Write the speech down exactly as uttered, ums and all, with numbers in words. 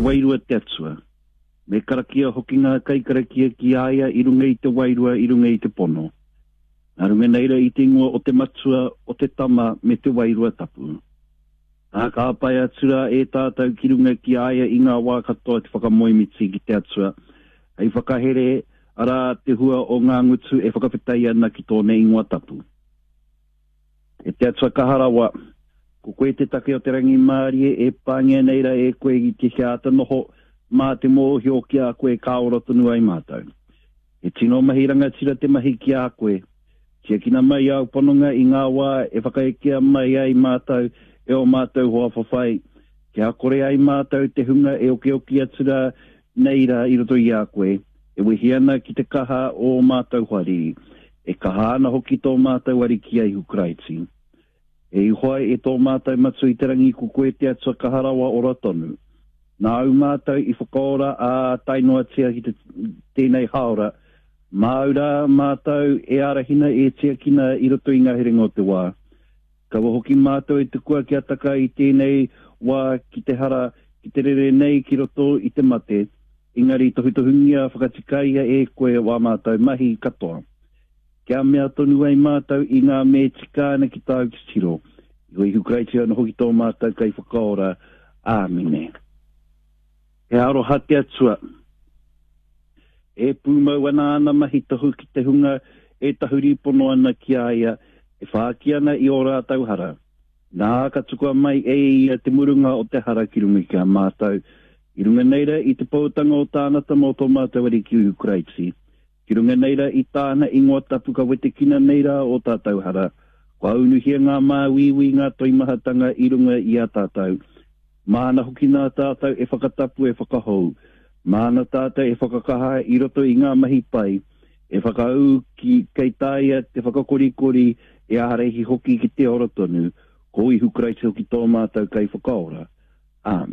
wairua te Atua. Me karakia hoki ngā kaikarakia ki a ia i runga i te wairua, i runga i te pono. Nā runga nei rā i te ingoa o te Matua, o te Tama, me te Wairua Tapu. Ā, ka āpae atu rā e tātou ki runga ki a ia i ngā wā katoa te whakamoemiti ki te Atua, hei whakahere, arā, te hua o ngā ngutu e whakawhetai ana ki tōna ingoa tapu. E te Atua kaha rawa, ko koe te take o te rangimārie e pāngia nei rā e koe i te kia āta noho mā te mōhio ki a koe ka ora tonu ai mātou. He tino mahi rangatira te mahi ki a koe. Tiakina mai āu pononga i ngā wā e whakaekea mai ai mātou e ō mātou hoa whawhai, kia kore ai mātou te hunga e okioki atu rā nei rā i roto i a koe, e wehi ana ki te kaha o ō mātou hoariri, e kaha ana hoki tō mātou Ariki a Ihu Karaiti. E Ihowa, e tō mātou Matua i te rangi, ko koe te Atua kaha rawa ora tonu. Nāu mātou i whakaora ā tae noatia ki te, tēnei hāora, māu rā mātou e ārahina e tiakina i roto i ngā herenga o te wā. Kaua hoki mātou e tukua kia taka i tēnei wā ki te hara, ki te rere nei ki roto i te mate, engari tohutohungia whakatikaia e koe wā mātou mahi katoa. Kia mea tonu ai mātou i ngā me tika ana ki tāu titiro. I ko Ihu Karaiti anō hoki tō mātou Kaiwhakaora. Āmine. He aroha te Atua. E pūmau ana āna mahi tohu ki te hunga e tahuri pono ana ki a ia, e whāki ana i ō rātou hara. Nā, ka tukua mai e ia te murunga o te hara ki runga ki a mātou, i runga nei rā i te poutanga o tāna Tama o tō mātou Ariki Ihu Karaiti. Ki runga nei rā i tāna ingoa tapu ka wetekina nei rā ō tātou hara, kua unuhia ngā māuiui, ngā toimahatanga i runga i a tātou. Māna hoki nā tātou e whakatapu, e whakahou. Māna tātou e whakakaha i roto i ngā mahi pai, e whakaū ki, kei taea te whakakorikori, e ārahi hoki ki te ora tonu. Ko Ihu Karaiti hoki tō mātou Kaiwhakaora. Āmine.